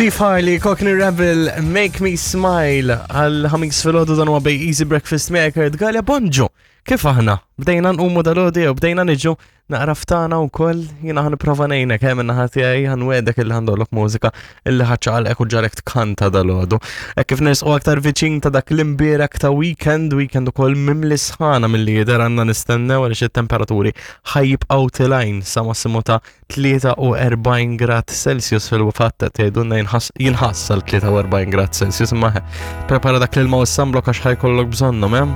Steve Harley, Cockney Rebel, Make Me Smile, għal ħamis fil-ħodu dan huwa bej Easy Breakfast Maker, Galja Bonġu. Kif aħna? Bdejna nqumu dal-ħodu jew bdejna niġu naqra ftana wkoll jiena ħa nipprova ngħinek hemm in-naħa tiegħi ħa nwegħdek illi ħandollok mużika illi ħa ċċaqalqek u ġarek tkanta dal-ħodu. Hekk kif nersqu aktar viċin ta' dak l-imbierek ta' weekend, weekend ukoll mimli sħana milli jidher għandna nistennew għaliex it-temperaturi ħa jibqgħu tilgħin sa massimu ta' 43 grad Celsius fil-fatt qed jgħidulna jinħass għal 43 grad Celsius imma prepara dak l-ilma u s-sunblock għax ħajkollok bżonnhom, eh?